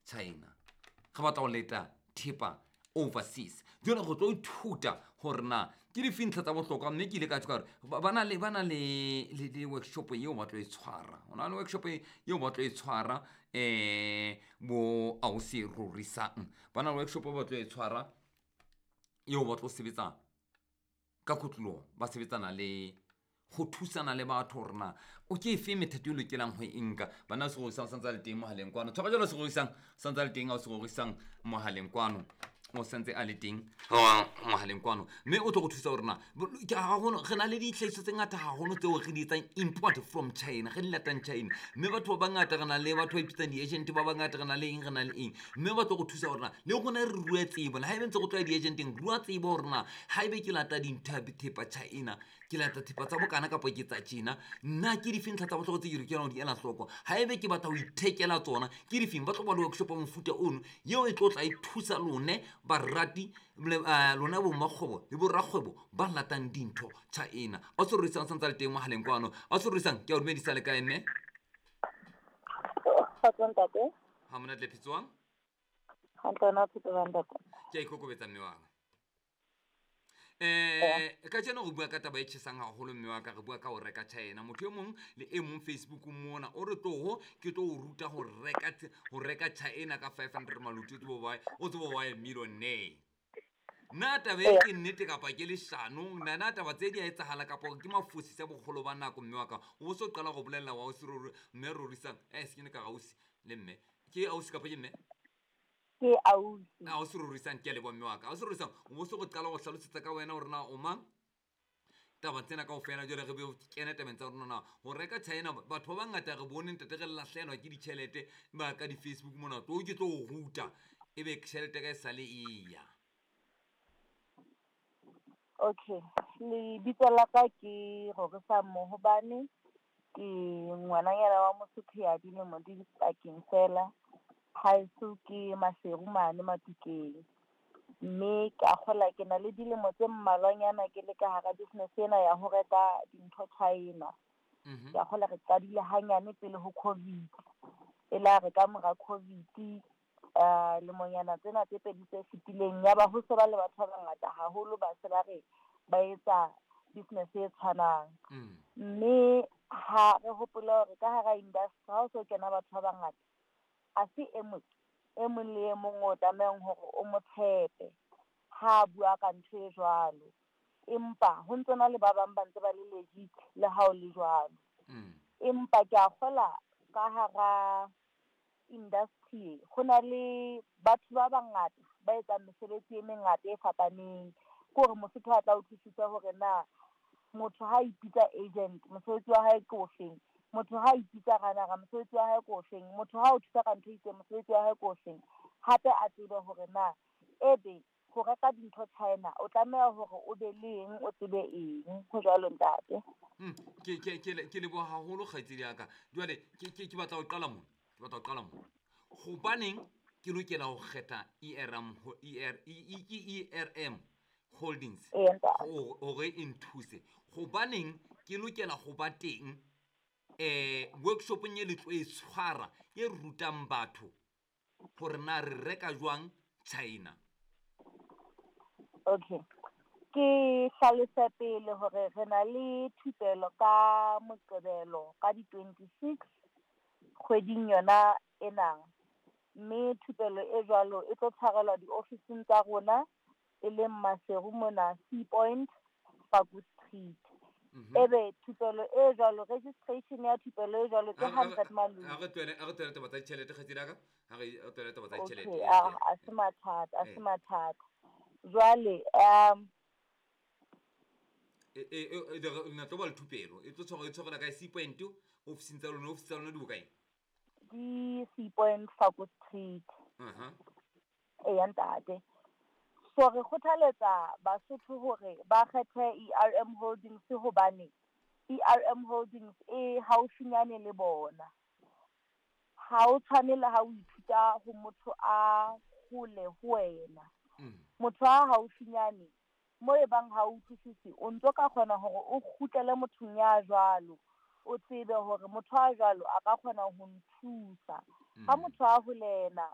China, re batla go leta thepa overseas. Jone go tlo ithuta gore na ke dife ntlha tsa bohlokwa, mme ke ile ka tshoka gore ba na le ba na le le le workshop yeo ba tlo e tshwara. Go na le workshop yeo ba tlo e tshwara bo ausi Rorisang, ba na le workshop ba tlo e tshwara yeo ba tlo sebetsa ka kotlologo, ba sebetsana le go thusana le batho gore na o ke efe methato e lokelang go e nka. Bana segorisang santse a le teng mogaleng kwano, tshwara jalo segorisang santse a le teng, a o segorisang mogaleng kwano o santse a le teng mogaleng kwano, mme o tlo go thusa gore na re na le ditlhagiso tse ngata gagolo tseo re di etsang import from China, re di latang China, mme batho ba bangata re na le batho ba ipitsang di-agent ba bangata, re na le eng, re na le eng, mme ba tlo go thusa gore na le rona re rue tsebo le ga ebe ntse go tloya di-agenteng, rua tsebo gore na ga ebe ke lata dinthepa China, ke lata thepa tsa bokana kapa ke tsa tjena, nna ke dife ntlha tsa botlhokwa tse ke lokelang go di ela hloko, ga ebe ke batla go ithekela tsona ke difeng. Ba tlo ba le workshop ya mofuta ono yeo e tlo tla e thusa lone barati lona bommakgwebo le borakgwebo ba latang dintho China. A se rorisang santse a le teng mogaleng kwano, a se rorisang, ke a o dumedisa le kae mme? Kgotso ntate. Ga monate le phetswang? Hantle, wena o phetse jwang ntate? Ke a ikokobetsa mme waka. Ka jeno re bua ka taba e tjhesang haholo mme wa ka, re bua ka ho reka China. Motho e mong le e mong Facebook mona o re tloho ke tlo o ruta go reka go reka China ka 500 maluti, o tsebo ba o tsebo wa millionaire. Na taba e ke nnete kapa ke leshano? Na na taba tse di a etsahala kapa ke mafosisa bogolo ba nako mme wa ka? O bo so qala go bolelela wa ausi ruri mme Rorisang, se ke ne ka re ausi le mme. Ke ausi kapa ke mme? Ke ausi. Ausi Rorisang, ke a leboha mme wa ka. Ausi Rorisang, o bo so go qala go hlalosetsa ka wena gore na o mang? Taba tsena kaofela jwale re be kene tabeng tsa rona na go reka China, batho ba bangata re bone ntate re latlhelwa ke ditšhelete ba ka di-Facebook mona, tlo ke tlo o ruta e be tšhelete ka e sale e ya. Okay, lebitso la ka ke Rorisang Mohobane, ke ngwananyana wa Mosotho ya dilemo di pakeng fela. Haeso ke Maseru mane Matukeng, mme ka kgola ke na le dilemo tse mmalwanyana ke le ka hara business ena ya ho reka dintho China. Ke a kgola re qadile hanyane pele ho COVID, e la re ka mora COVID lemonyana tsena tse pedi tse fetileng ya ba ho se ba le batho ba bangata haholo ba se ba re ba etsa business e tshwanang. Mme ha re hopola hore ka hara industry ha o so kena batho ba bangata, a se e mong e mong le e mong o tlamehang hore o mo tshepe ha a bua ka ntho e jwalo, empa ho ntso na le ba bang ba ntse ba le legit le ha o le jwalo. Empa ke a kgola ka hara industry ho na le batho ba bangata ba etsang mesebetsi e mengata e fapaneng. Ke hore Mosotho a tla utlwisisa hore na motho ha ipitsa agent mosebetsi wa hae ke ofeng, motho ha ipitsa ranara mosebetsi wa hae ke ofeng, motho ha o thusa ka ntho e itseng mosebetsi wa hae ke ofeng. Hape a tsebe hore na ebe ho reka dintho China o tlameha hore o be le eng, o tsebe eng. Ho jwalo ntate. Ke leboha haholo kgaitsedi ya ka. Jwale ke batla ho qala mona, ke batla ho qala mona. Hobaneng ke lokela ho kgetha ERM ho E R E E ke ERM Holdings hore e nthuse? Hobaneng ke lokela ho ba teng workshopong e le tlo e tshwara e rutang batho hore na re reka jwang China? Okay, ke hlalose pele hore re na le thupelo ka Moqebelo ka di-26 kgweding yona ena, mme thupelo e jwalo e tlo tshwarelwa diofising tsa rona e leng Maseru mona Sea Point, Faku Street. Ebe thupelo e jwalo, registration ya thupelo e jwalo ke 100 malome. Ha re tlohele taba tsa ditjhelete kgaitsedi ya ka, ha re tlohele taba tsa ditjhelete. Okay, a se mathata, a se mathata. Jwale na tlo ba le thupelo e tlo tshwarwa, e tshwarelwa kae? Sea Point, ofising tsa lona, ofisi tsa lona di bokae? Di Sea Point, Faku Street. Eya ntate. So re kgothaletsa Basotho hore ba kgethe ERM Holdings hobane ERM Holdings e haufinyane le bona. Ha o tshwane le ha o ithuta ho motho a hole ho wena. Motho a haufinyane mo e bang ha o utlwisise, o ntso ka kgona hore o kgutlele mothong ya jwalo, o tsebe hore motho a jwalo a ka kgona ho nthusa. Ha motho a holena